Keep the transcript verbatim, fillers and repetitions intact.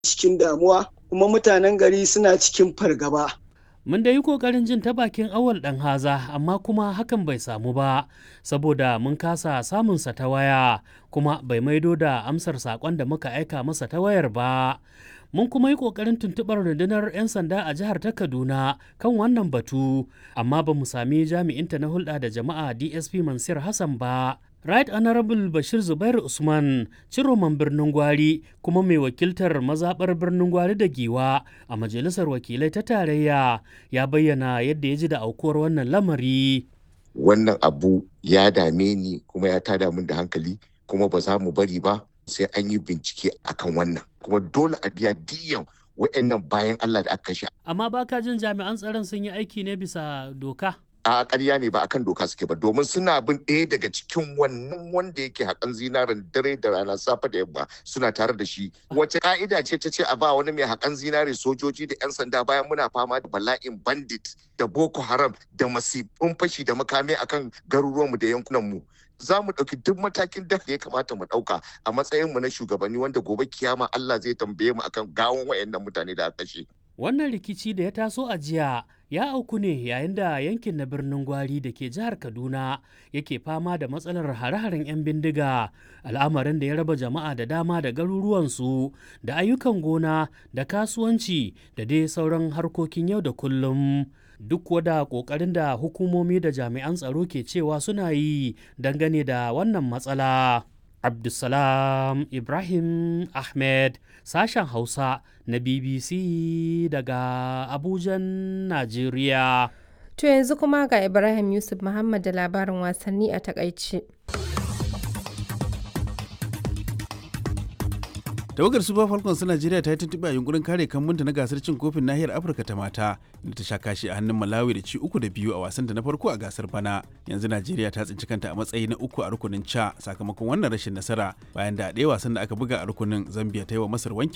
Cikin damuwa kuma mutanen gari suna cikin fargaba. Mun da yi ƙoƙarin jin ta bakin Awal ɗan haza, amma kuma hakan bai samu ba saboda mun kasa samunsa ta waya, kuma bai maido da amsar saƙon da muka aika masa ta wayar ba. Mun kuma yi ƙoƙarin tuntuɓar rundunar 'yan sanda a jihar ta Kaduna kan wannan batu, amma ba mu sami jami'inta na hulɗa da jama'a D S P Mansur Hassan ba. Right Honorable Bashir Zubair Usman, ciroman birnin Gwari kuma mai wakiltar mazaɓar birnin Gwari da Giwa a Majalisar Wakilai ta Tarayya, ya bayyana yadda ya ji da aukuwar wannan lamari. Wannan abu ya dame ni kuma ya tada min da hankali, kuma ba za mu bari ba sai an yi bincike akan wannan. Kuma dole a biya diyan wa'annan bayan Allah da aka kashe. Amma baka jin jami'an tsaron sun yi aiki ne bisa doka? A ƙarya ne, ba akan doka suke ba, domin suna bin ɗaya daga cikin wannan wanda yake haƙan zinaren dare da rana, safe da yamma suna tare da shi. Wace ka'ida ce ta ce a ba wani mai haƙan zinare sojoji da 'yan sanda, bayan muna fama da bala'in bandit da Boko Haram da masifin fashi da makami akan garuruwanmu da yankunanmu? Za mu ɗauki duk matakin da ya kamata mu ɗauka a matsayinmu na shugabanni, wanda gobe kiyama Allah zai tambaye mu akan gawon wayannan mutane da aka kashe. Wannan rikici da ya taso a jiya ya auku ne yayin da yankin na birnin Gwari da ke jihar Kaduna yake fama da matsalar hare-haren 'yan bindiga, al'amarin da ya raba jama'a da dama da garuruwansu da ayyukan gona da kasuwanci da dai sauran harkokin yau da kullum. Duk wada ƙoƙarin da hukumomi da jami'an tsaro ke cewa suna yi dangane da wannan matsala. Abdulsalam Ibrahim Ahmed, sashen Hausa na B B C daga Abujan, Najeriya. To yanzu kuma ga Ibrahim Yusuf Muhammad da labarin wasanni a takaice. Tawagar Super Falcons ta Najeriya ta yi tuntuɓe a yunkurin kare kambunta na gasar cin kofin nahiyar Afirka ta mata, da ta sha kashi a hannun Malawi da ci uku da biyu a wasan ta na farko a gasar bana. Yanzu Najeriya ta tsinci kanta a matsayi na uku a rukunin ca sakamakon wannan rashin nasara, bayan da a ɗaya wasan da aka buga a rukunin, Zambia ta yi wa Masar wankin